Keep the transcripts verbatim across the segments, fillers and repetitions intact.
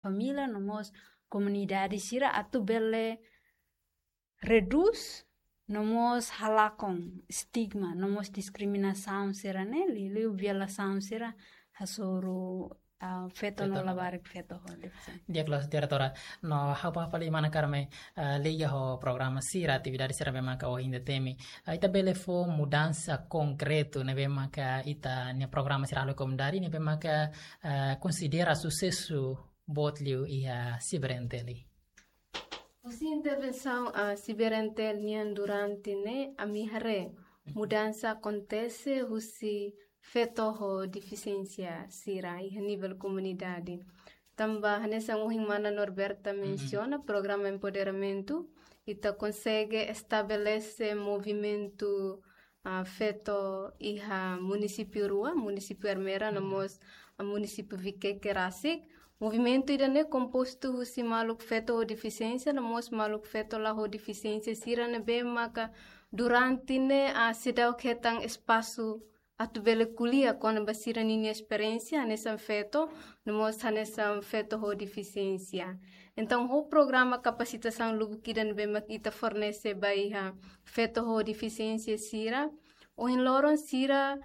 família no mós komunidade sira atu bele redús no mós halakon stigma no mós diskriminasaun sira ne'e, liuliu violasaun sira hasoru, ah, feto no labarik feto ho defisiénsia. Di'ak loos, diretora. No ha'u bá fali mana Carmen, ah, liga ho programa sira, atividade sira ne'ebé maka ohin ita temi. Ah, ita bele fó mudansa konkretu ne'ebé maka ita-nia programa sira halo komunidade ne'ebé maka, ah, konsidera susesu boot liu iha CIBER-NTL. Husi intervensaun, ah, CIBER-NTL nian durante ne'e, ami haree mudansa akontese husi feto ho defisiénsia sira iha nivel komunidade. Tanba hanesan ohin mana Norberta mensiona, programa empoderamentu, ita konsege estabelese movimentu, ah, feto iha munisípiu rua, munisípiu Ermera no mós, ah, munisípiu Viqueque rasik. Movimentu ida-ne'e kompostu husi maluk feto ho defisiénsia no mós maluk feto la ho defisiénsia sira ne'ebé maka durante ne'e, ah, seidauk hetan espasu atu bele ko'alia kona-ba sira ninia esperiénsia hanesan feto no mós hanesan feto ho defisiénsia. Entaun, ho programa kapasitasaun lubuk ida ne'ebé mak ita fornese ba iha feto ho defisiénsia sira, ohin loron sira,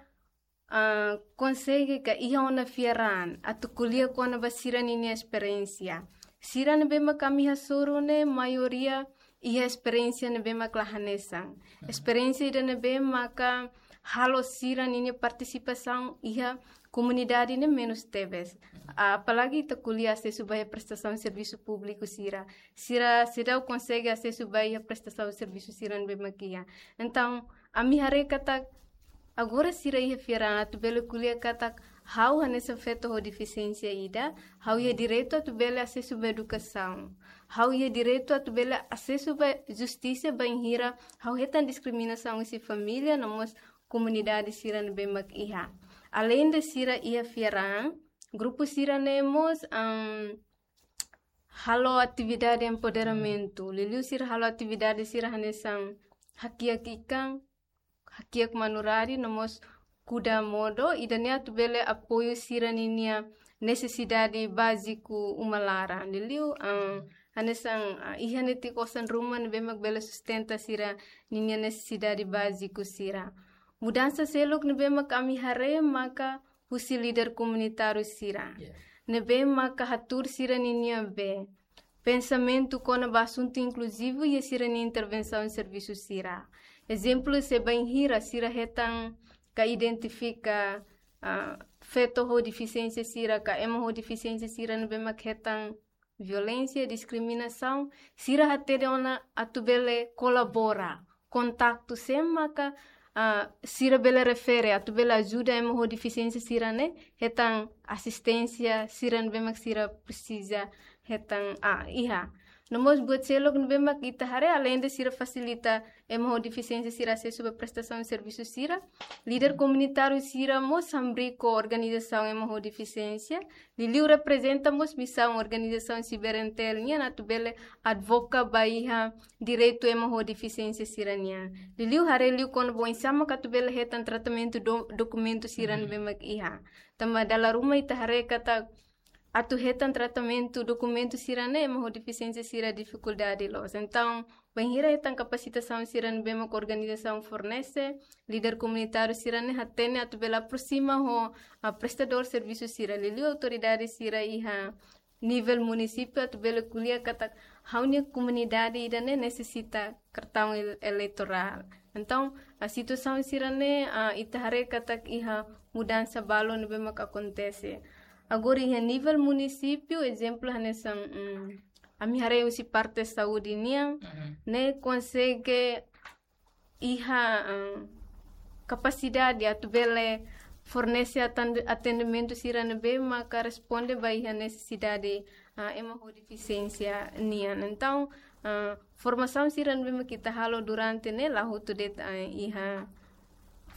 ah, konsege ka iha ona fiar an atu ko'alia kona-ba sira ninia esperiénsia. Sira ne'ebé mak ami hasoru ne'e maioria iha esperiénsia ne'ebé mak la hanesan. Esperiénsia ida ne'ebé maka halo sira ninia partisipasaun iha komunidade ne'e menus tebes. Apalagi ita ko'alia asesu ba iha prestasaun servisu públiku sira. Sira seidauk konsege asesu ba iha prestasaun servisu sira ne'ebé mak iha. Entaun, ami haree katak agora sira iha fiar an atu bele ko'alia katak ha'u hanesan feto ho defisiénsia ida, ha'u iha direitu atu bele asesu ba edukasaun. Ha'u iha direitu atu bele asesu ba justisa bainhira ha'u hetan diskriminasaun husi família no mós komunidade sira ne'ebé mak iha. Aleinde sira iha fiar an, grupu sira-ne'e mós, am, halo atividade empoderamentu. Liuliu sira halo atividade sira hanesan hakiak ikan, hakiak manurari no mós kuda modo, ida-ne'e atu bele apoiu sira ninia nesesidade báziku uma laran. Liuliu, ah, hanesan, ah, iha netik osan ruma ne'ebé mak bele sustenta sira ninia nesesidade báziku sira. Mudansa seluk ne'ebé mak ami haree maka husi líder komunitáriu sira. Yeah. Ne'ebé maka hatuur sira ninia be pensamentu kona-ba asuntu inkluzivu iha sira-nia intervensaun servisu sira. Ezemplu, se bainhira sira hetan ka identifika, ah, feto ho defisiénsia sira, ka ema ho defisiénsia sira ne'ebé mak hetan violénsia, diskriminasaun, sira hatene ona atu bele kolabora, kontaktu sé maka, ah, sira bele refere, atu bele ajuda ema ho defisiénsia sira-ne'e hetan asisténsia sira ne'ebé mak sira presiza hetan, ah, iha. No mós buat seluk ne'ebé mak ita haree, aleinde sira fasilita ema ho defisiénsia sira asesu ba prestasaun servisu sira, líder komunitáriu sira mós hamriik ho organizasaun ema ho defisiénsia, liuliu reprezenta mós misaun organizasaun CIBER-NTL nian atu bele advoga ba iha direitu ema ho defisiénsia sira-nian. Liuliu haree liu kona-ba oinsá mak atu bele hetan tratamentu do-, dokumentu sira ne'ebé mak iha. Tanba dala ruma ita haree katak atu hetan tratamentu dokumentu sira-ne'e ema ho defisiénsia sira difikuldade loos. Entaun, bainhira hetan kapasitasaun sira ne'ebé mak organizasaun fornese, líder komunitáriu sira-ne'e hatene atu bele aproxima ho, ah, prestadór servisu sira, liuliu autoridade sira iha nivel munisípiu atu bele ko'alia katak ha'u-nia komunidade ida-ne'e nesesita kartaun el-, eleitorál. Entaun, ah, situasaun sira-ne'e, ah, ita haree katak iha mudansa balu ne'ebé mak akontese. Agora iha nivel munisípiu, ezemplu hanesan, mm, ami haree husi parte saúde nian, ne'e konsege iha, ah, kapasidade atu bele fornese atan-, atendimentu sira ne'ebé maka responde ba iha nesesidade, ah, ema ho defisiénsia nian. Entaun, ah, formasaun sira ne'ebé mak ita halo durante ne'e la hotu de'it, ah, iha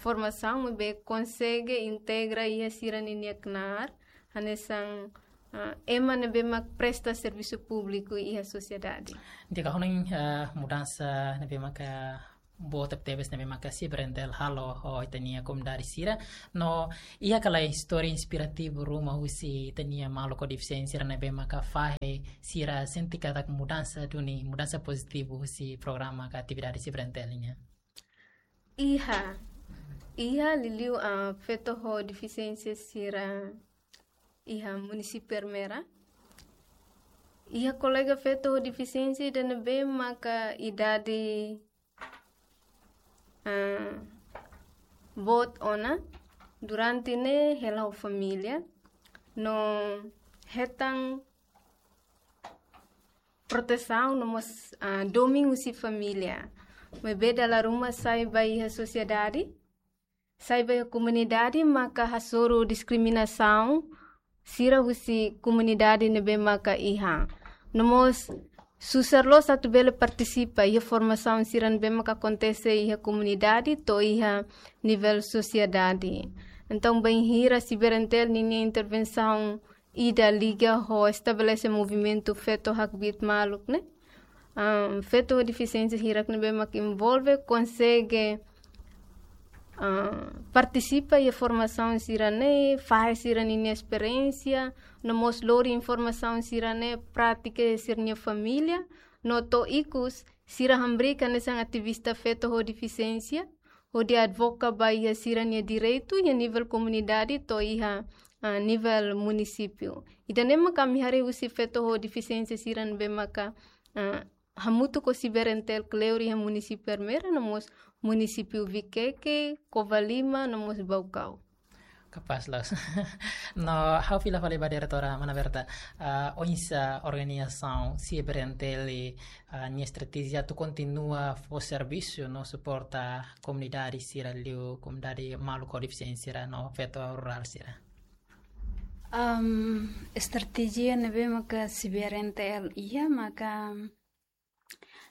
formasaun ne'ebé konsege integra iha sira ninia knaar, hanesan, ah, ema ne'ebé mak presta servisu públiku iha sosiedade. Di'ak, ha'u hanoin, ah, mudansa ne'ebé maka boot tebetebes ne'ebé maka CBRNTL halo ho ita-nia komunidade sira. No iha ka lae istória inspirativu ruma husi ita-nia maluk ho defisiénsia sira ne'ebé maka fahe sira sente katak mudansa duni, mudansa pozitivu husi programa ka atividade CBRNTL nian? Iha, iha liuliu, ah, feto ho defisiénsia sira iha munisípiu Ermera. Iha kolega feto ho defisiénsia ida ne'ebé maka idade, ah, boot ona, durante ne'e hela ho família, no hetan protesaun no mós, ah, domin husi família. Maibé dala ruma sai ba iha sosiedade, sai ba iha komunidade maka hasoru diskriminasaun sira husi komunidade ne'ebé maka iha. No mós susar loos atu bele partisipa iha formasaun sira ne'ebé maka akontese iha komunidade to'o iha nivel sosiedade. Entaun, bainhira CBRNTL ninia intervensaun ida liga ho estabelese movimentu feto hakbiit maluk ne'e, ah, feto ho defisiénsia hirak ne'ebé mak envolve konsege, ah, partisipa iha formasaun sira-ne'e, fahe sira-nia esperiénsia, no mós lori informasaun sira-ne'e, pratika iha sira-nia família, no to'o ikus sira hamriik hanesan ativista feto ho defisiénsia, hodi advoka ba iha sira-nia direitu iha nivel komunidade to'o iha, ah, nivel munisípiu. Ida-ne'e mak ami haree husi feto ho defisiénsia sira ne'ebé maka, ah, hamutuk ho CBRNTL kleur iha munisípiu Ermera, no mós munisípiu Viqueque, Covalima, no mós Baucau. Kapás loos. No, ha'u fila fali ba diretora mana Berta, ah, oinsá organizasaun CBRNTL, ah, nia estratéjia atu kontinua fó servisu no suporta komunidade sira liu, komunidade maluk ho defisiénsia sira no feto rurál sira. Am, estratéjia ne'ebé maka CBRNTL iha maka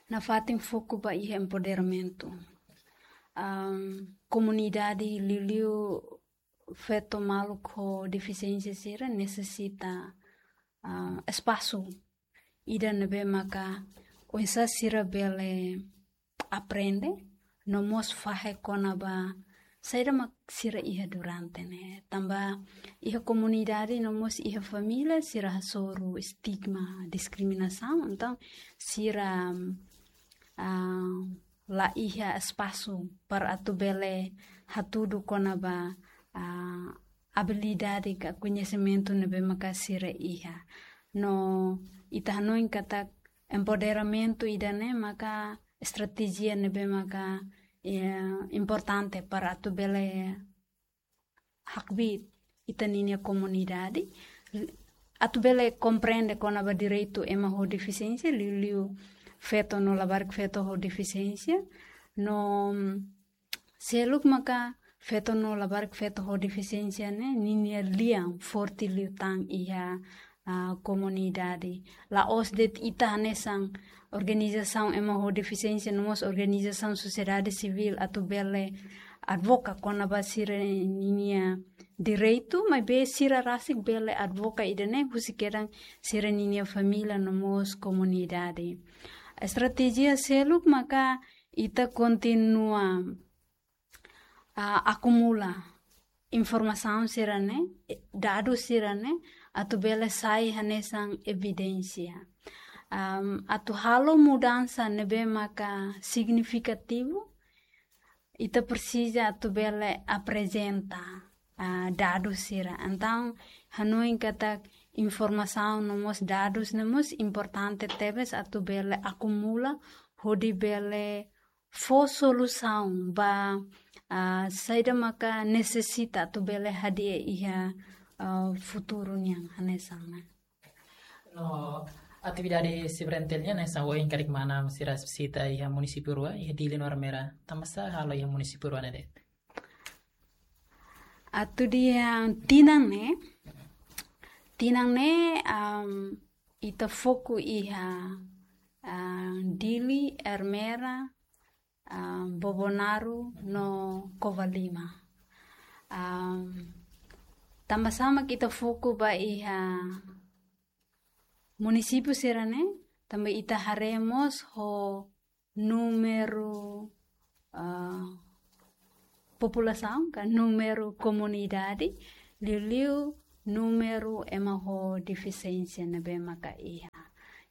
nafatin foku ba iha empoderamentu. Am, komunidade liuliu feto maluk ho defisiénsia sira nesesita, ah, espasu ida ne'ebé maka oinsá sira bele aprende, no mós fahe kona-ba saida mak sira iha durante ne'e. Tanba iha komunidade no mós iha família sira hasoru estigma, diskriminasaun, entaun sira, ah, la iha espasu para atu bele hatudu kona-ba, ah, abilidade ka koñesimentu ne'ebé maka sira iha. No ita hanoin katak empoderamentu ida-ne'e maka estratéjia ne'ebé maka, eh, importante para atu bele hakbiit ita ninia komunidade, atu bele komprende kona-ba direitu ema ho defisiénsia, liuliu feto no labarik feto ho defisiénsia, no seluk maka feto no labarik feto ho defisiénsia ne'e ninia lian forte liután iha, ah, komunidade. La'ós de'it ita hanesan organizasaun ema ho defisiénsia, no mós organizasaun sosiedade sivíl atu bele advoka kona-ba sira ninia direitu, maibé sira rasik bele advoka ida-ne'e husi kedan sira ninia família no mós komunidade. Estratéjia seluk maka ita kontinua, ah, akumula informasaun sira-ne'e, dadus sira-ne'e, atu bele sai hanesan evidénsia. Am, atu halo mudansa ne'ebé maka signifikativu, ita presiza atu bele aprezenta, ah, dadus sira. Entaun, hanoin katak informasaun no mós dadus ne'e mós importante tebes atu bele akumula, hodi bele fó solusaun ba, ah, saida maka nesesita atu bele hadi'a iha, ah, futuru nian hanesan ne'e. No, atividade CBRNTL nian hanesan ohin karik mana sira sita iha munisípiu rua, iha Dili no Ermera. Tanbasá halo iha munisípiu rua ne'e de'it? Atu iha tinan ne'e, tinan ne'e, am, ita foku iha, ah, Dili, Ermera, ah, Bobonaro no Covalima. Am, tanbasá mak ita foku ba iha munisípiu sira-ne'e, tanba ita haree mós ho númeru ah, populasaun ka númeru komunidade, liuliu númeru ema ho defisiénsia ne'ebé maka iha.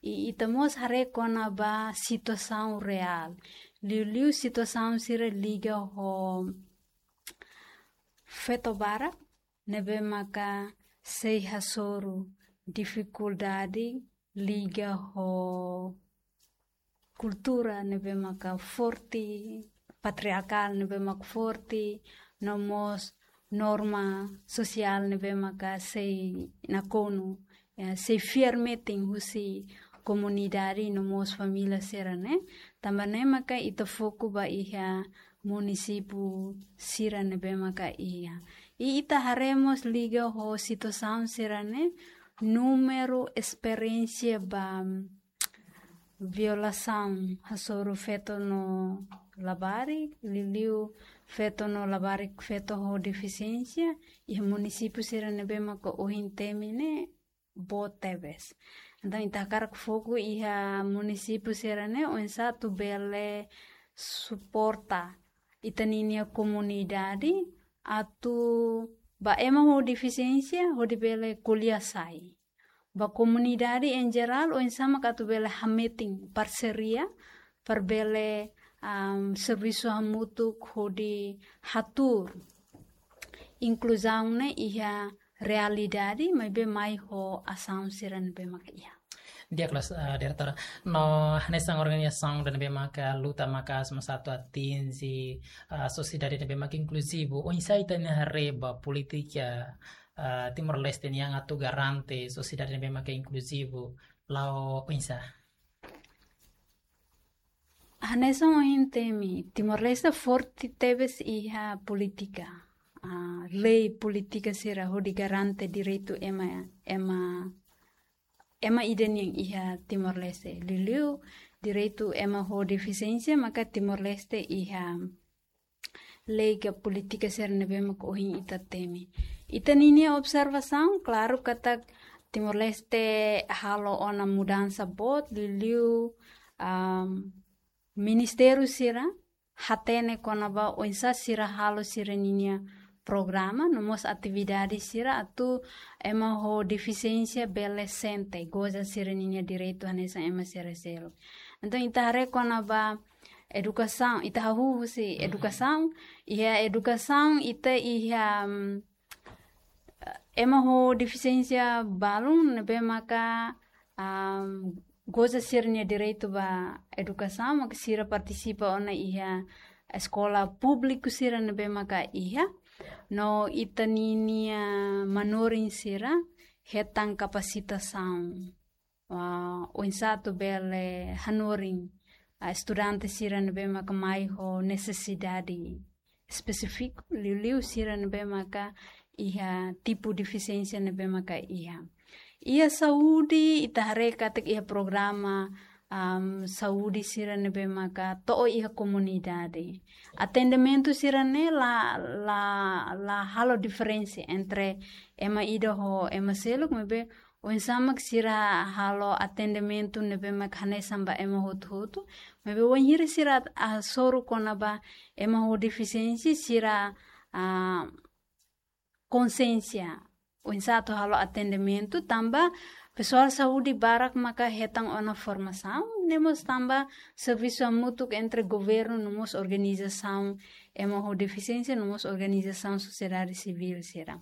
I ita mós haree kona-ba situasaun reál, liuliu situasaun sira liga ho feto barak ne'ebé maka sei hasoru difikuldade liga ho kultura ne'ebé maka forte, patriarkál ne'ebé maka forte, no mós norma sosiál ne'ebé maka sei nakonu, ya, sei fiar metin husi komunidade no mós família sira-ne'e. Tanba ne'e maka ita foku ba iha munisípiu sira ne'ebé maka iha. I ita haree mós liga ho situasaun sira-ne'e, númeru esperiénsia ba violasaun hasoru feto no labarik, liuliu feto no labarik, feto ho defisiénsia, iha munisípiu sira ne'ebé maka ohin temi ne'e boot tebes. Entaun, ita hakarak foku iha munisípiu sira-ne'e, oinsá atu bele suporta ita-ninia komunidade atu ba ema ho defisiénsia hodi bele ko'alia sai. Ba komunidade em geral, oinsá mak atu bele hametin parseria para bele, am, servisu hamutuk hodi hatuur inkluzaun ne'e iha realidade, maibé mai ho asaun sira ne'ebé mak iha. Di'ak loos, ah, diretora. No hanesan organizasaun ida ne'ebé maka luta maka'as mós atu atinje, ah, sosiedade ne'ebé maka inkluzivu. Oinsá ita-nia haree ba polítika, ah, Timor-Leste nian atu garante sosiedade ne'ebé maka inkluzivu. La'o oinsá? Hanesan ohin temi, Timor-Leste forte tebes iha polítika. Ah, lei polítika sira hodi garante direitu ema, ema, ema ida nian iha Timor-Leste. Liuliu direitu ema ho defisiénsia, maka Timor-Leste iha lei ka polítika sira ne'ebé maka ohin ita temi. Ita-ninia observasaun, klaru katak Timor-Leste halo ona mudansa boot, liuliu, am, ministériu sira hatene kona-ba oinsá sira halo sira-ninia programa, no mós atividade sira atu ema ho defisiénsia bele sente, goza sira-ninia direitu hanesan ema sira seluk. Entaun, ita haree kona-ba edukasaun, ita hahú husi edukasaun, iha edukasaun ita iha, mm, ema ho defisiénsia balun ne'ebé maka, am, goza sira-nia direitu ba edukasaun, maka sira partisipa ona iha eskola públiku sira ne'ebé maka iha, no ita-ninia manorin sira hetan kapasitasaun. Ah, oinsá atu bele hanorin, ah, estudante sira ne'ebé maka mai ho nesesidade espesífiku, liuliu sira ne'ebé maka iha tipu defisiénsia ne'ebé maka iha. Iha saúde, ita haree katak iha programa, am, saúde sira ne'ebé maka to'o iha komunidade. Atendimentu sira-ne'e la, la, la halo diferensa entre ema ida ho ema seluk, maibé oinsá mak sira halo atendimentu ne'ebé mak hanesan ba ema hotu-hotu. Maibé wainhira sira hasoru kona-ba ema ho defisiénsia, sira, ah, konsiénsia oinsá atu halo atendimentu, tanba pesoál saúde barak maka hetan ona formasaun, no mós tanba servisu hamutuk entre governu no mós organizasaun ema ho defisiénsia, no mós organizasaun sosiedade sivíl sira.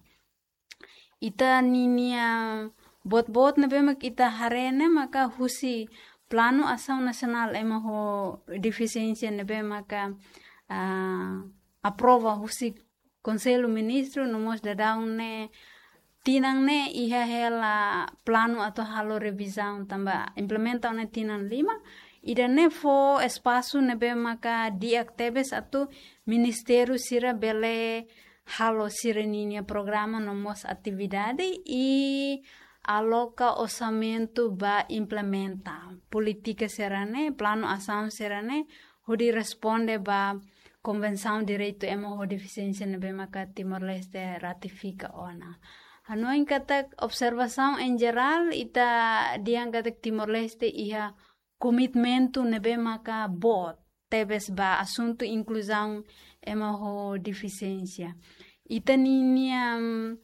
Ita-ninia boot-boot ne'ebé mak ita haree ne'e maka husi Planu Asaun Nasionál ema ho defisiénsia ne'ebé maka, ah, aprova husi Konsellu Ministru no mós daudaun ne'e tinan ne'e iha hela planu atu halo revizaun tanba implementa ona tinan lima. Ida-ne'e fó espasu ne'ebé maka di'ak tebes atu ministériu sira bele halo sira-ninia programa no mós atividade i aloka orsamentu ba implementa polítika sira-ne'e, planu asaun sira-ne'e, hodi responde ba Konvensaun Direitu Ema ho Defisiénsia ne'ebé maka Timor-Leste ratifika ona. Hanoin katak observasaun em geral, ita dehan katak Timor-Leste iha komitmentu ne'ebé maka boot tebes ba asuntu inkluzaun ema ho defisiénsia. Ita ninia, mm,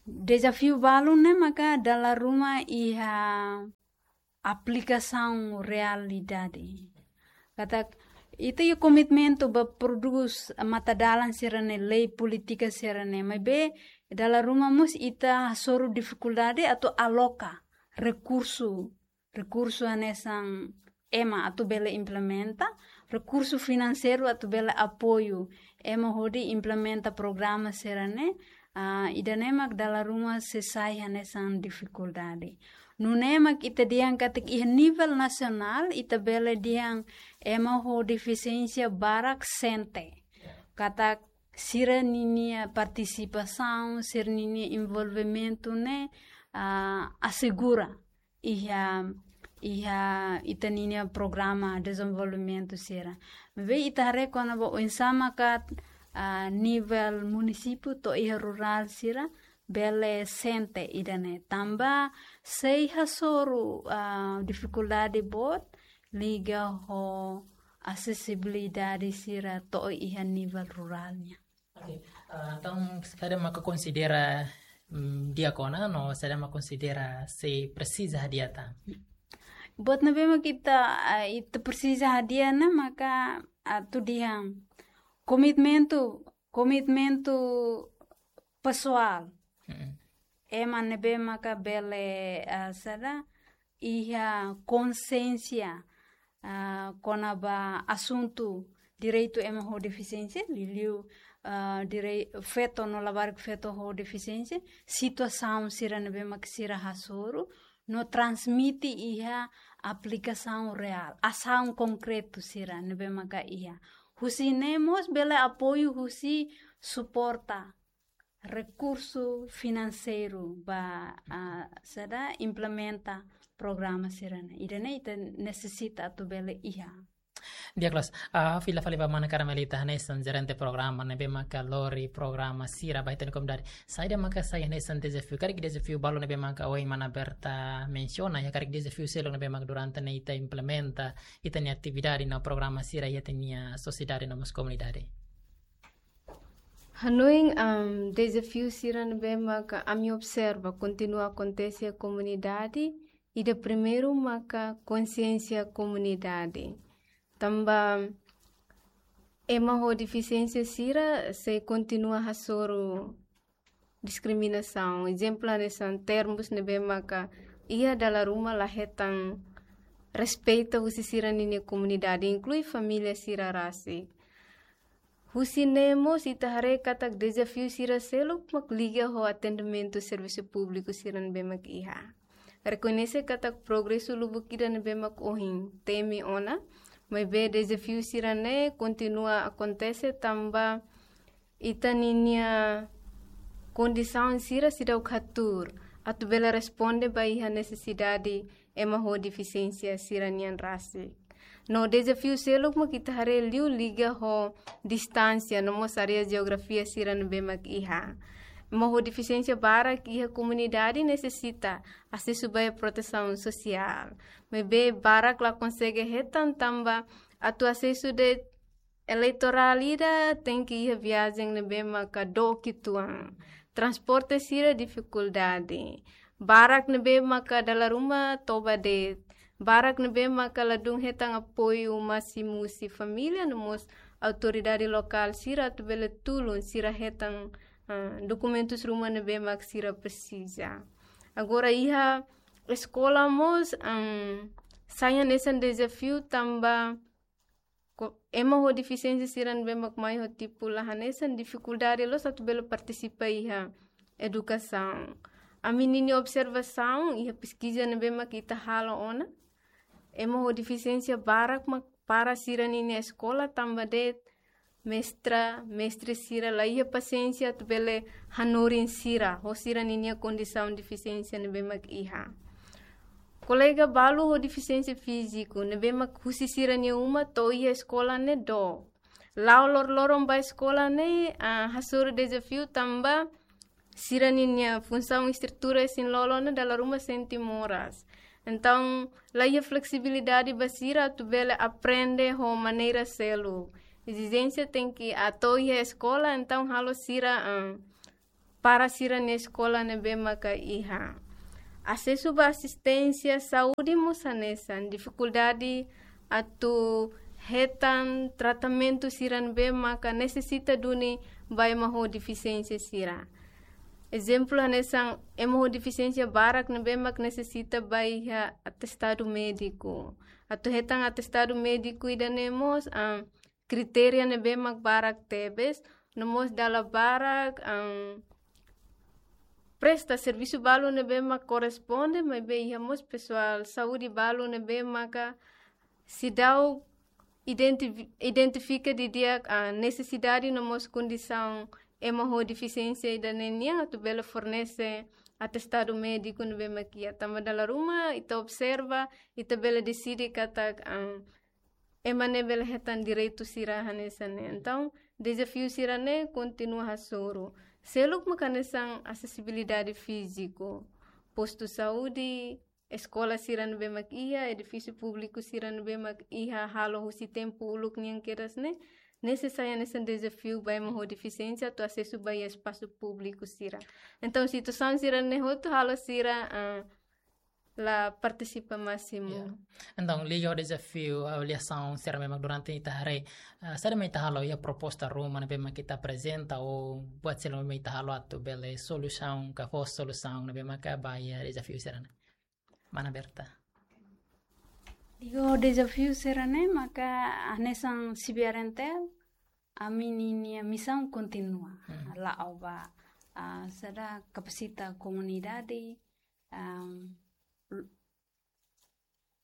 dezafiu balu ne'e maka dala ruma iha aplikasaun realidade. Katak ita iha komitmentu ba prodús matadalan sira-ne'e, lei, polítika sira-ne'e, maibé dala ruma mós ita hasoru difikuldade atu aloka rekursu, rekursu hanesan ema atu bele implementa, rekursu finanseiru atu bele apoiu ema hodi implementa programa sira-ne'e, ah, ida-ne'e mak dala ruma sei sai hanesan difikuldade. Nune'e mak ita dehan katak iha nivel nasionál, ita bele dehan ema ho defisiénsia barak sente. Katak sira ninia partisipasaun, sira ninia envolvimentu ne'e, ah, asegura iha, iha ita ninia programa dezenvolvimentu sira. Maibé ita haree kona-ba oinsá maka, ah, nivel munisípiu to'o iha rurál sira bele sente ida-ne'e. Tanba sei hasoru, ah, difikuldade boot liga ho asesibilidade sira to'o iha nivel rurál nian. Oke, ah, entaun, saida maka konsidera, mm, di'ak ona, no saida maka konsidera sei presiza hadi'a tan? Buat ne'ebé maka ita, ah, ita presiza hadi'a ne'e maka, ah, atu dehan komitmentu, komitmentu pesoál. Mm-mm. Ema ne'ebé maka bele, ah, saida, iha konsiénsia, ah, kona-ba asuntu direitu ema ho defisiénsia, liuliu, ah, direi-, feto no labarik feto ho defisiénsia, situasaun sira ne'ebé mak sira hasoru, no transmite iha aplikasaun reál, asaun konkretu sira ne'ebé maka iha. Husi ne'e mós bele apoiu husi suporta rekursu finanseiru ba, ah, saida implementa programa sira-ne'e. Ida-ne'e ita nesesita atu bele iha. Di'ak loos, ah, fila fali ba mana Carmelita hanesan jerente programa ne'ebé maka lori programa sira ba ita-nia komunidade. Saida maka sai hanesan dezafiu, karik dezafiu balu ne'ebé maka ohin mana Berta mensiona, ya karik dezafiu seluk ne'ebé maka durante ne'e ita implementa ita-nia atividade no programa sira iha ita-nia sosiedade no mós komunidade. Hanoin, am, dezafiu sira ne'ebé maka ami observa kontinua akontese iha komunidade, ida primeiru maka konsiénsia komunidade. Tanba ema ho defisiénsia sira sei kontinua hasoru diskriminasaun. Ezemplu hanesan termus ne'ebé maka iha dala ruma la hetan respeita husi sira ninia komunidade, inklui família sira rasik. Husi ne'e mós ita haree katak dezafiu sira seluk mak liga ho atendimentu servisu públiku sira ne'ebé mak iha. Rekoñese katak progresu lubuk ida ne'ebé mak ohin temi ona, maibé dezafiu sira-ne'e kontinua akontese tanba ita ninia kondisaun sira seidauk hatuur atu bele responde ba iha nesesidade ema ho defisiénsia sira-nian rasik. No dezafiu seluk mak ita haree liu liga ho distánsia no mós área jeografia sira ne'ebé mak iha. Ema ho defisiénsia barak iha komunidade nesesita asesu ba iha protesaun sosiál. Maibé barak la konsege hetan tanba atu asesu de'it eleitorál ida tenke iha viajen ne'ebé maka dook uitoan. Transporte sira difikuldade. Barak ne'ebé maka dala ruma toba de'it. Barak ne'ebé maka ladún hetan apoiu másimu husi família no mós autoridade lokál sira atu bele tulun sira hetan, ah, dokumentus ruma ne'ebé mak sira presiza. Agora iha eskola mós, am, sai hanesan dezafiu tanba ko-, ema ho defisiénsia sira ne'ebé mak mai ho tipu la hanesan difikuldade loos atu bele partisipa iha edukasaun. Ami ninia observasaun iha peskiza ne'ebé mak ita halo ona, ema ho defisiénsia barak mak para sira ninia eskola tanba de'it mestra, mestre sira la iha pasiénsia atu bele hanorin sira ho sira ninia kondisaun defisiénsia ne'ebé mak iha. Kolega balu ho defisiénsia fíziku ne'ebé mak husi sira-nia uma to'o iha eskola ne'e dook. La'o loroloron ba eskola ne'e, ah, hasoru dezafiu tanba sira ninia funsaun estrutura isin-lolon ne'e dala ruma sente moras. Entaun, la iha fleksibilidade ba sira atu bele aprende ho maneira seluk. Ezijénsia tenke atu iha eskola, entaun halo sira, ah, para sira-nia eskola ne'ebé maka iha. Asesu ba asisténsia saúde mós hanesan, difikuldade atu hetan tratamentu sira ne'ebé maka nesesita duni ba ema ho defisiénsia sira. Ezemplu hanesan ema ho defisiénsia barak ne'ebé mak nesesita ba iha atestadu médiku. Atu hetan atestadu médiku ida-ne'e mós, ah, kritéria ne'ebé mak barak tebes, no mós dala barak, ah, presta servisu balu ne'ebé mak korresponde, maibé iha mós pesoál saúde balu ne'ebé maka seidauk identifi-, identifika didi'ak, ah, nesesidade no mós kondisaun ema ho defisiénsia ida-ne'e nian atu bele fornese atestadu médiku ne'ebé mak iha. Tanba dala ruma ita observa, ita bele deside katak, ah, ema ne'e bele hetan direitu sira hanesan ne'e. Entaun, dezafiu sira-ne'e kontinua hasoru. Seluk mak hanesan asesibilidade fíziku, postu saúde, eskola sira ne'ebé mak iha, edifísiu públiku sira ne'ebé mak iha, halo husi tempu uluk nian kedas ne'e, nesesáriu hanesan dezafiu ba ema ho defisiénsia atu asesu ba iha espasu públiku sira. Entaun, situasaun sira-ne'e hotu halo sira, ah, la partisipa másimu. Ya. Entaun, liga ho dezafiu avaliasaun sira ne'ebé mak durante ita haree, ah, saida mak ita halo iha proposta ruma ne'ebé mak ita aprezenta ou buat seluk ne'ebé mak ita halo atu bele solusaun ka fó solusaun ne'ebé maka ba iha dezafiu sira-ne'e. Mana Berta. Liga ho dezafiu sira-ne'e maka hanesan CBRNTL, ami ninia misaun kontinua. Hmm. La'o ba, ah, saida, kapasita komunidade, am, l-,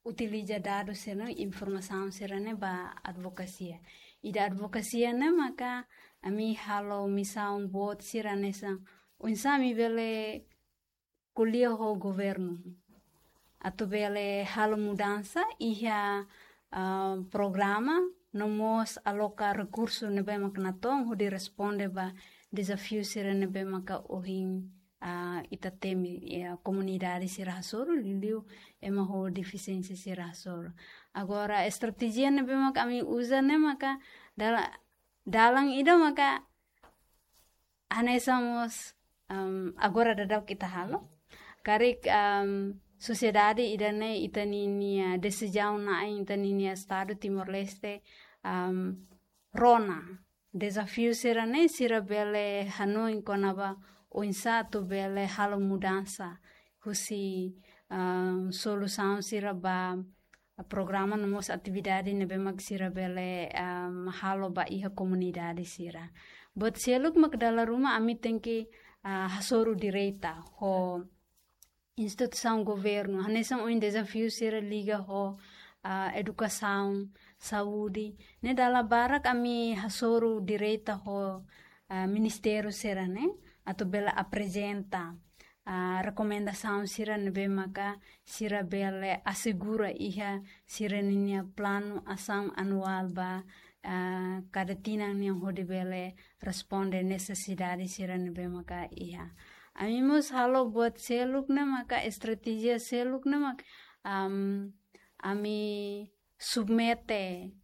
utiliza dadus sira-ne'e, informasaun sira-ne'e ba advokasia. Ida advokasia ne'e maka ami halo misaun boot sira hanesan oinsá ami bele ko'alia ho governu atu bele halo mudansa iha, ah, programa no mós aloka rekursu ne'ebé mak natoon hodi responde ba dezafiu sira ne'ebé maka ohin, ah, ita temi, ya, komunidade sira hasoru, liuliu ema ho defisiénsia sira hasoru. Agora, estratéjia ne'ebé mak ami uza ne'e maka dala-, dalan ida maka hanesan mós, am, agora daudauk ita halo. Karik, am, sosiedade ida-ne'e ita ninia desizaun na'in ita ninia Estadu Timor-Leste, am, rona dezafiu sira-ne'e sira bele hanoin kona-ba oinsá atu bele halo mudansa husi, am, solusaun sira ba programa no mós atividade ne'ebé mak sira bele, am, halo ba iha komunidade sira. Buat seluk mak dala ruma ami tenke, ah, hasoru direta ho instituisaun governu. Hanesan ohin dezafiu sira liga ho, ah, edukasaun, saúde. Ne'e dala barak ami hasoru direta ho, ah, ministériu sira-ne'e atu bele aprezenta, ah, rekomendasaun sira ne'ebé maka sira bele asegura iha sira ninia planu asaun anuál ba, ah, kada tinan nian hodi bele responde nesesidade sira ne'ebé maka iha. Ami mós halo buat seluk ne'e maka estratéjia seluk ne'e mak, am, ami submete,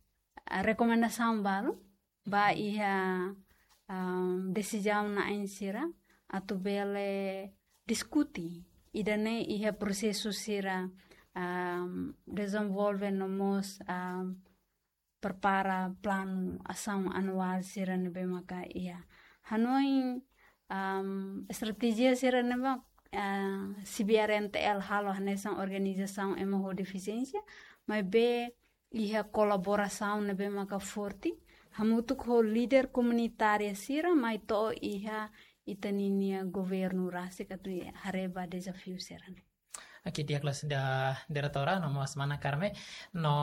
ah, rekomendasaun balu ba iha, am, desizaun na'in sira atu bele diskute ida-ne'e iha prosesu sira, am, dezenvolve no mós, am, prepara planu asaun anuál sira ne'ebé maka iha. Hanoin, am, estratéjia sira ne'ebé, ah, CBRNTL halo hanesan organizasaun ema ho defisiénsia, maibé iha kolaborasaun ne'ebé maka forte hamutuk ho líder komunitária sira mai to'o iha ita ninia governu rasik atu haree ba dezafiu sira-ne'e. Oke, di'ak loos da diretora, no mós mana Carme, no,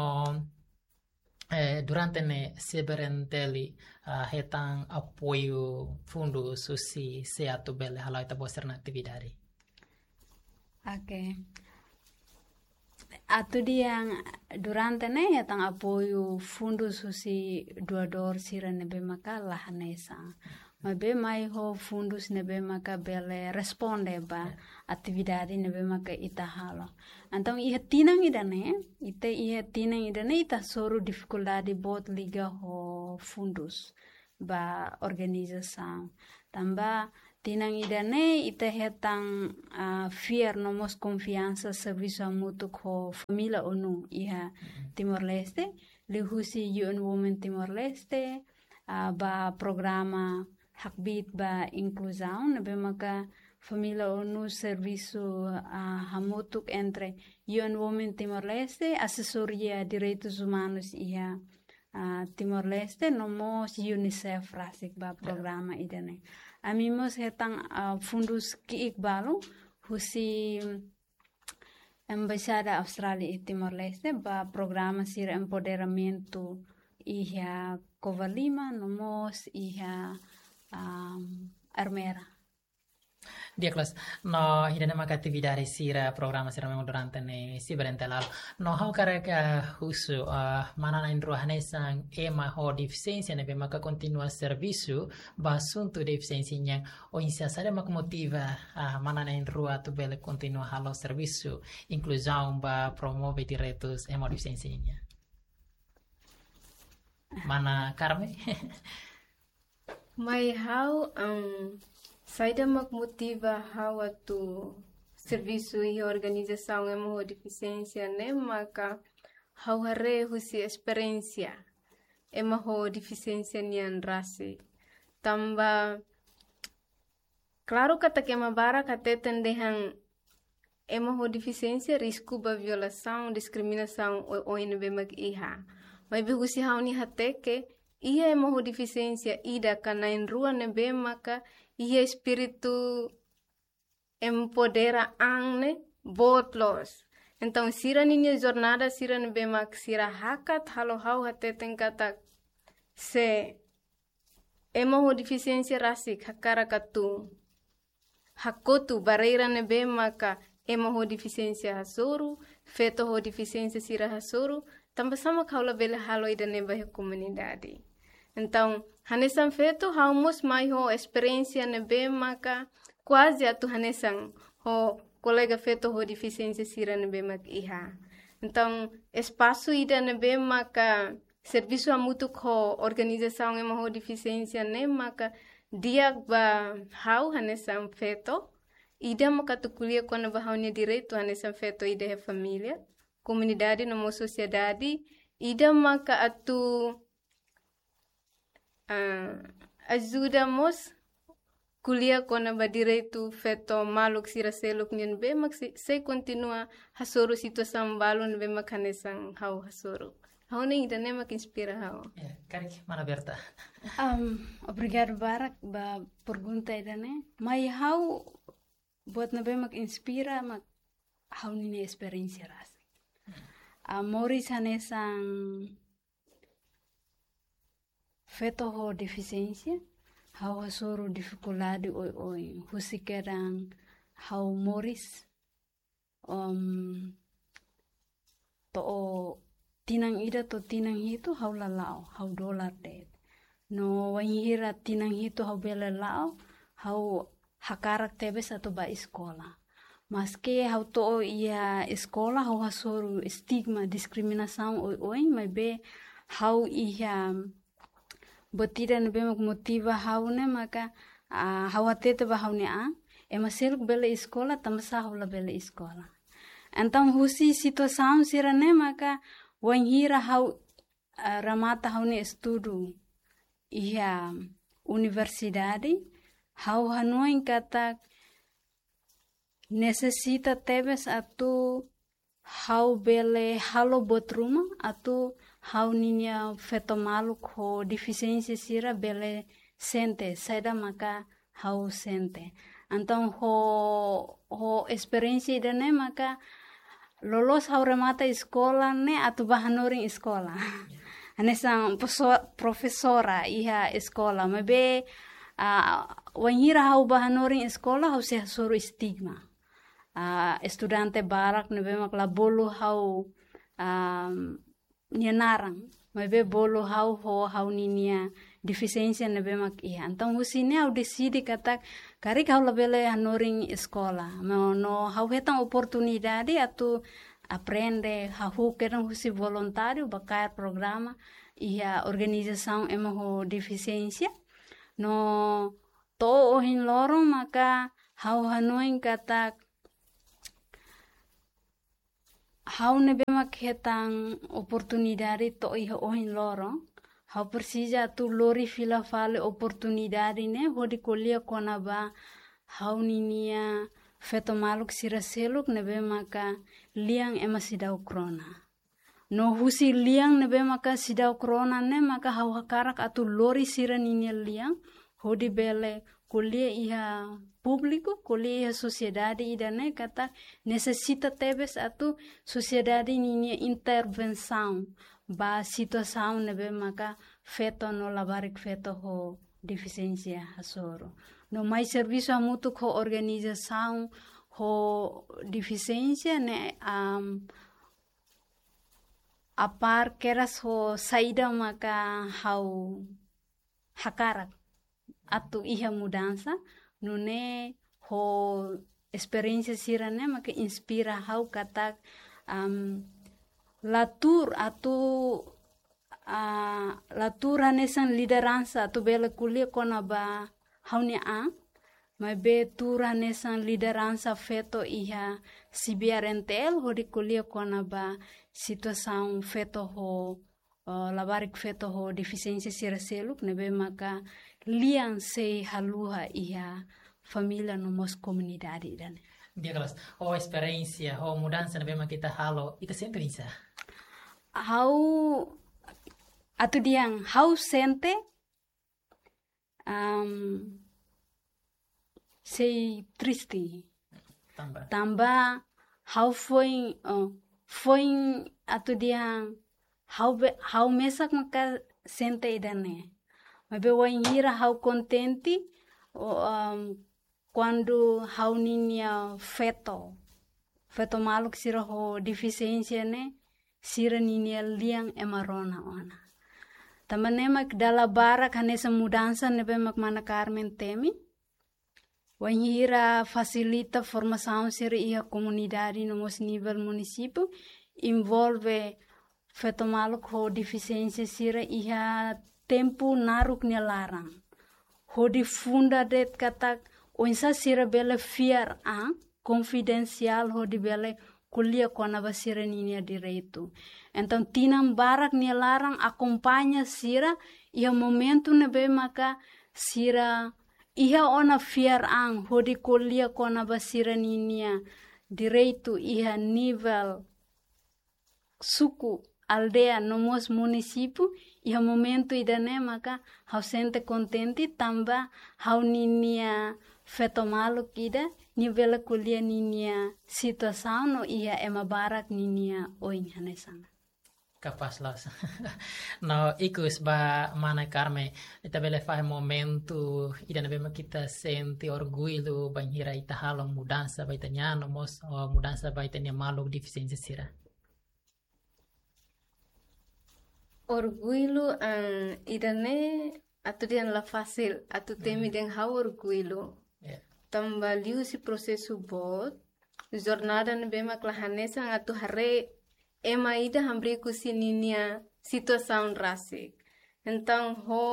eh, durante ne'e CBRNTL, ah, hetan apoiu fundus husi sé atu bele hala'o ita-boot sira-nia atividade? Oke. Atu dehan durante ne'e hetan apoiu fundus husi doadór sira ne'ebé maka la hanesan. Maibé mai ho fundus ne'ebé maka bele responde ba atividade ne'ebé maka ita halo. Entaun iha tinan ida-ne'e, ita iha tinan ida-ne'e ita hasoru difikuldade boot liga ho fundus ba organizasaun. Tanba tinan ida-ne'e ita hetan, ah, fiar no mós konfiansa servisu hamutuk ho família ONU iha Timor-Leste, liuhusi U N Women Timor-Leste, ah, ba programa hakbiit ba inkluzaun, ne'ebé maka família ONU servisu, ah, hamutuk entre U N Women Timor-Leste, Asesoria Direitus Umanus iha, ah, Timor-Leste, no mós UNICEF rasik ba programa ida-ne'e. Ami mós hetan, ah, fundus ki'ik balu husi Embaixada Austrália iha Timor-Leste ba programa sira empoderamentu iha Covalima, no mós iha, am, Ermera. Di'ak loos, no ida-ne'e maka atividade sira, programa sira memang durante ne'e sei berente lalu. No ha'u hakarak husu, ah, mana na'in-rua hanesan ema ho defisiénsia ne'ebé maka kontinua servisu ba asuntu defisiénsia nian, oinsá, saida mak motiva, ah, mana na'in-rua atu bele kontinua halo servisu inkluzaun ba promove direitus ema ho defisiénsia nian? Mana Carmen? Mai ha'u, em, saida mak motiva ha'u atu servisu iha organizasaun ema ho defisiénsia ne'e maka ha'u haree husi esperiénsia ema ho defisiénsia nian rasik. Tanba klaru katak ema barak hateten dehan ema ho defisiénsia risku ba violasaun, diskriminasaun oioin ne'ebé mak iha. Maibé husi ha'u-nia hateke, iha ema ho defisiénsia ida ka na'in-rua ne'ebé maka iha espíritu empodera an ne'e boot loos. Entaun sira ninia jornada sira ne'ebé mak sira hakat halo ha'u hateten katak se ema ho defisiénsia rasik hakarak atu hakotu barreira ne'ebé maka ema ho defisiénsia hasoru, feto ho defisiénsia sira hasoru, tanbasá mak ha'u labele halo ida-ne'e ba iha komunidade. Entaun, hanesan feto, ha'u mós mai ho esperiénsia ne'ebé maka kuaze atu hanesan ho kolega feto ho defisiénsia sira ne'ebé mak iha. Entaun, espasu ida ne'ebé maka servisu hamutuk ho organizasaun ema ho defisiénsia ne'e maka di'ak ba ha'u hanesan feto, ida maka atu ko'alia kona-ba ha'u-nia direitu hanesan feto ida iha família, komunidade no mós sosiedade, ida maka atu, ah, ajuda mós ko'alia kona-ba direitu feto maluk sira seluk nian ne'ebé mak sei, sei kontinua hasoru situasaun balu ne'ebé mak hanesan ha'u hasoru. Ha'u hanoin ida-ne'e mak inspira ha'u. Ya, karik mana Berta. Am, obrigadu barak ba pergunta ida-ne'e. Mai ha'u buat ne'ebé mak inspira mak ha'u-nia esperiénsia rasik. Ah, moris hanesan feto ho defisiénsia, ha'u hasoru difikuldade oioin. Husi kedan ha'u moris, em, to'o tinan ida to'o tinan hitu ha'u la la'o, ha'u dolar de'it. No wainhira tinan hitu ha'u bele la'o, ha'u hakarak tebes atu bá eskola. Maski ha'u to'o iha eskola, ha'u hasoru estigma, diskriminasaun oioin, maibé ha'u iha buat ida ne'ebé mak motiva ha'u ne'e maka, ah, ha'u hatete ba ha'u-nia an, ema seluk bele eskola, tanbasá ha'u labele eskola. Entaun husi situasaun sira-ne'e maka wainhira ha'u, ah, remata ha'u-nia estudu iha universidade, ha'u hanoin katak nesesita tebes atu ha'u bele halo buat ruma atu ha'u-nia feto maluk ho defisiénsia sira bele sente saida maka ha'u sente. Entaun ho, ho esperiénsia ida-ne'e maka loloos ha'u remata eskola ne'e atu bá hanorin eskola. Hanesan profeso-, profesora iha eskola, maibé, ah, wainhira ha'u bá hanorin eskola, ha'u sei hasoru estigma. Ah, estudante barak ne'ebé mak la bolu ha'u, ah, nia naran, maibé bolu ha'u ho ha'u-nia defisiénsia ne'ebé mak iha. Entaun husi ne'e ha'u deside katak karik ha'u labele hanorin eskola. No, no ha'u hetan oportunidade atu aprende, hahú kedan husi voluntáriu ba kaer programa iha organizasaun ema ho defisiénsia. No to'o ohin loron maka ha'u hanoin katak ha'u ne'ebé mak hetan oportunidade to'o iha ohin loron, ha'u presiza atu lori fila fali oportunidade ne'e hodi ko'alia kona-ba ha'u-ninia feto maluk sira seluk ne'ebé maka lian ema seidauk rona. No husi lian ne'ebé maka seidauk rona ne'e maka ha'u hakarak atu lori sira-ninia lian hodi bele ko'alia iha públiku, ko'alia iha sosiedade ida-ne'e katak nesesita tebes atu sosiedade ninia intervensaun ba situasaun ne'ebé maka feto no labarik feto ho defisiénsia hasoru. No mai servisu hamutuk ho organizasaun ho defisiénsia ne'e, am, apár kedas ho saida maka ha'u hakarak atu iha mudansa, nune'e ho esperiénsia sira-ne'e maka inspira ha'u katak, am, la tuur atu, ah, la tuur hanesan lideransa atu bele ko'alia kona-ba ha'u-nia an, maibé tuur hanesan lideransa feto iha C B R N T L hodi ko'alia kona-ba situasaun feto ho, eh, labarik feto ho defisiénsia sira seluk ne'ebé maka lian sei haluha iha família no mós komunidade ida-ne'e. Di'ak loos, ho esperiénsia, ho mudansa ne'ebé mak ita halo, ita sente oinsá? Ha'u atu dehan, ha'u sente, am, sei triste. Tanba? Tanba ha'u foin, oh, foin atu dehan ha'u be-, ha'u mesak maka sente ida-ne'e. Maibé wainhira ha'u kontente, oh, am, kuandu ha'u-ninia feto, feto maluk sira ho defisiénsia ne'e, sira-ninia lian ema rona ona. Tanba ne'e mak dala barak hanesan mudansa ne'ebé mak mana Carmen temi. Wainhira fasilita formasaun sira iha komunidade no mós nivel munisípiu, envolve feto maluk ho defisiénsia sira iha tempu naruk nia laran. Hodi funda de'it katak oinsá sira bele fiar an, konfidensiál hodi bele ko'alia kona-ba sira-ninia direitu. Entaun tinan barak nia laran akompaña sira iha momentu ne'ebé maka sira iha ona fiar an hodi ko'alia kona-ba sira-ninia direitu iha nivel suku, aldeia, no mós munisípiu, iha momentu ida-ne'e maka ha'u sente kontente tanba ha'u-ninia feto maluk ida, nia bele ko'alia ninia situasaun no iha ema barak ninia oin hanesan. Kapás loos. No ikus ba mana Carmen, ita bele fahe momentu ida ne'ebé mak ita sente orgullu bainhira ita halo mudansa ba ita-nia an no mós, oh, mudansa ba ita-nia maluk defisiénsia sira. Orgullu, ah, ida-ne'e atu dehan la fasil, atu temi dehan ha'u orgullu. Ya. Tanba liuhusi prosesu boot, jornada ne'ebé mak la hanesan atu haree ema ida hamriik husi ninia situasaun rasik. Entaun ho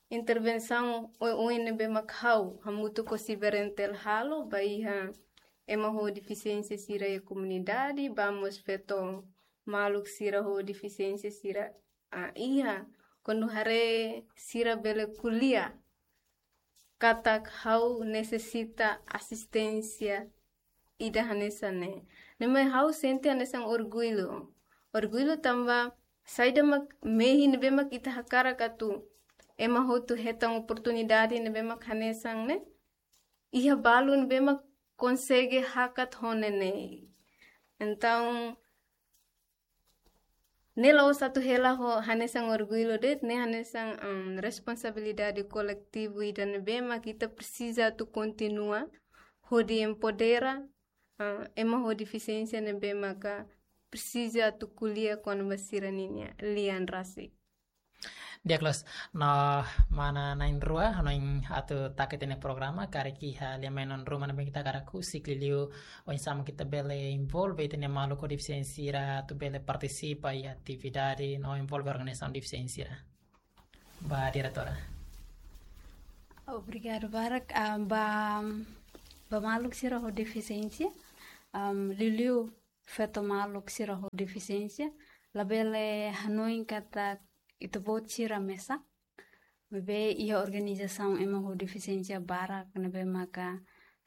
intervensaun oioin ne'ebé mak ha'u hamutuk ho C B R N T L halo ba iha ema ho defisiénsia sira iha komunidade, ba mós feto maluk sira ho defisiénsia sira, ah, iha, kuandu haree sira bele ko'alia katak ha'u nesesita asisténsia ida hanesan ne'e. Ne'e mai ha'u sente hanesan orgullu. Orgullu tanba saida mak mehi ne'ebé mak ita hakarak atu ema hotu hetan oportunidade ne'ebé mak hanesan ne'e, iha balu ne'ebé mak konsege hakat ho ne'e. Entaun, ne'e la'ós atu hela ho hanesan orgullu de'it, ne'e hanesan, em, responsabilidade koletivu ida ne'ebé mak ita presiza atu kontinua hodi empodera, ah, ema ho defisiénsia ne'ebé maka presiza atu ko'alia kona-ba sira-ninia lian rasik. Di'ak loos, no mana na'in-rua, no in atu taka ita-nia programa, karik iha lia mai non ruma na bengita karak ku sikli liu, oinsá mak ita bele envolve ita-nia maluk ho defisiénsia sira, atu bele partisipa iha atividade, no envolve organizasaun defisiénsia sira. Ba diretora. Obrigadu barak, ah, ba, ba maluk sira ho defisiénsia, ah, liuliu feto maluk sira ho defisiénsia, labele hanoin katak ita-boot sira mesak. Maibé iha organizasaun ema ho defisiénsia barak ne'ebé maka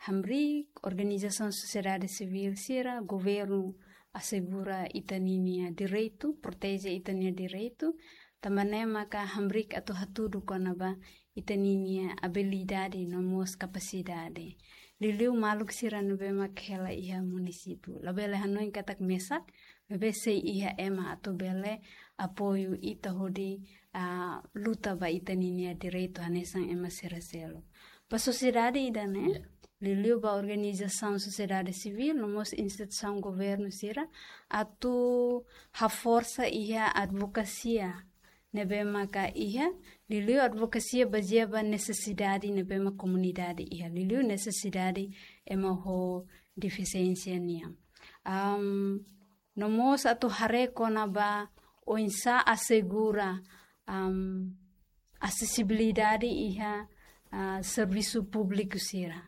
hamriik, organizasaun sosiedade sivíl sira, governu asegura ita-ninia direitu, proteje ita-nia direitu, tanba ne'e maka hamriik atu hatudu kona-ba ita-ninia abilidade no mós kapasidade. Liuliu maluk sira ne'ebé mak hela iha munisípiu. Labele hanoin katak mesak, maibé sei iha ema atu bele apoiu ita hodi, ah, luta ba ita-ninia direitu hanesan ema sira seluk. Ba sosiedade ida-ne'e, Ya. liuliu ba organizasaun sosiedade sivíl, no mós instituisaun governu sira, atu haforsa iha advokasia ne'ebé maka iha, liuliu advokasia bazeia ba nesesidade ne'ebé mak komunidade iha, liuliu nesesidade ema ho defisiénsia nian. Am, no mós atu haree kona-ba oinsá asegura, am, asesibilidade iha, ah, servisu públiku sira.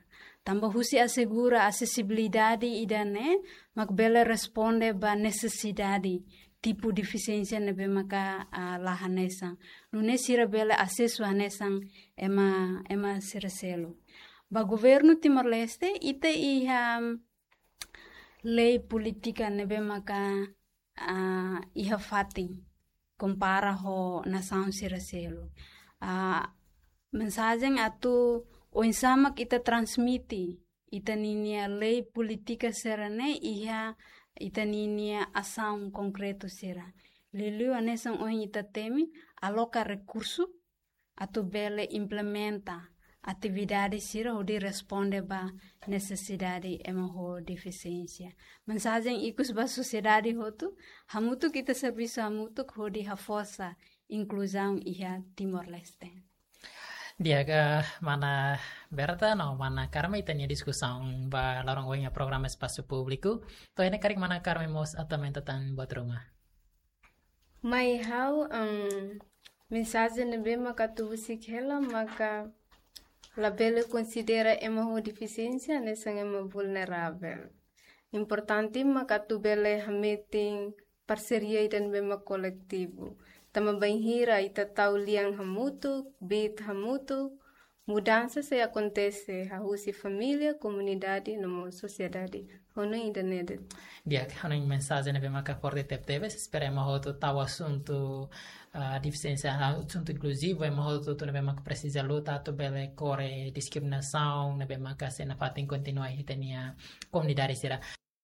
Tanba husi asegura asesibilidade ida-ne'e, mak bele responde ba nesesidade tipu defisiénsia ne'ebé maka, ah, la hanesan. Nune'e sira bele asesu hanesan ema, ema sira seluk. Ba governu Timor-Leste, ita iha lei polítika ne'ebé maka, ah, iha fatin kompara ho nasaun sira seluk. Ah, mensajen atu oinsá mak ita transmite ita-ninia lei polítika sira-ne'e iha ita-ninia asaun konkretu sira. Liuliu hanesan ohin ita temi, aloka rekursu atu bele implementa atividade sira hodi responde ba nesesidade ema ho defisiénsia. Mensajen ikus ba sosiedade hotu, hamutuk ita servisu hamutuk hodi haforsa inkluzaun iha Timor-Leste. Di'ak, mana Berta no mana Carmen, ita-nia diskusaun ba loron ohin iha programa Espasu Públiku. To'o iha ne'e karik mana Carmen mós atu aumenta tan buat ruma. Mai ha'u, em, mensajen ne'ebé maka atu husik hela maka labele konsidera ema ho defisiénsia hanesan ema vulneravel. Importante maka atu bele hametin parseria ida ne'ebé mak koletivu. Tanba bainhira ita tau lian hamutuk, biit hamutuk, mudansa sei akontese, hahú husi família, komunidade, no mós sosiedade. Ha'u hanoin ida-ne'e de'it. Di'ak, ha'u hanoin mensajen ne'ebé maka forte tebetebes, espera ema hotu tau asuntu, ah, defisiénsia, asuntu inkluzivu, ema hotu ne'ebé maka presiza luta atu bele kore diskriminasaun ne'ebé maka sei nafatin kontinua iha ita-nia komunidade sira.